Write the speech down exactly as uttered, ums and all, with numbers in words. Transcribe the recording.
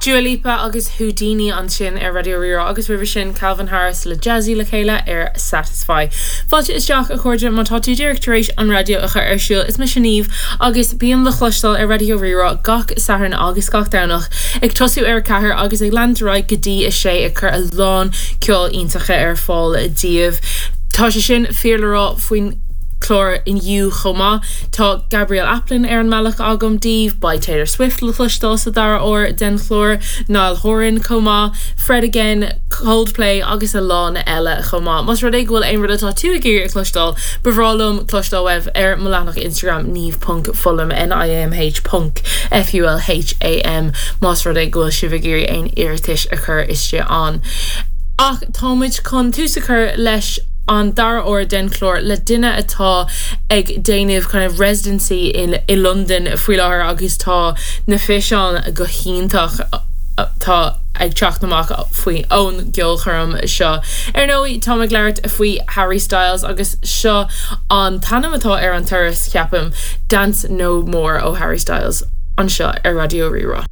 Dua Lipa agus Houdini ansin ar Raidió Rí-Rá agus roimhe sin Calvin Harris le Jazzy le chéile ar Satisfy. Fáilte isteach a chairde má tá tú díreach tar éis an raidió a chur ar siúl is mise Niamh agus bím le cloisteáil ar Raidió Rí-Rá gach Satharn agus gach Domhnach ag tosú ar ceathair agus ag leanúint go dtí a sé ag cur a lán ceol iontacha ar fáil daoibh. Tá sé sin fíor le rá faoin chlár inniu chomh maith Tá Gabrielle Aplin ar an mbealach agam daoibh, beidh Taylor Swift le cloisteáil sa dara huair den chlár, Niall Horan chomh maith, Fred again, Coldplay agus a lán eile chomh maith. Más rud é go bhfuil aon rud atá tú ag iarraidh a chloisteáil, ba bhreá liom cloisteáil uaibh ar mo leathanach Instagram niamh.fulham NIAMH ponc FULHAM más rud é go bhfuil sibh ag iarraidh aon iarratais a chur isteach ann. Ach táimid chun tús a chur leis an dara huair den chlár le duine atá ag déanamh kind of residency in i London faoi láthair agus tá na físeáin go hiontach tá ag teacht amach faoi ón gceolchoirm seo. Ar ndóigh tá ag labhairt faoi Harry Styles agus seo an t-ainm atá ar an turas ceapaim Dance No More ó Harry Styles anseo ar Raidió Rí-Rá.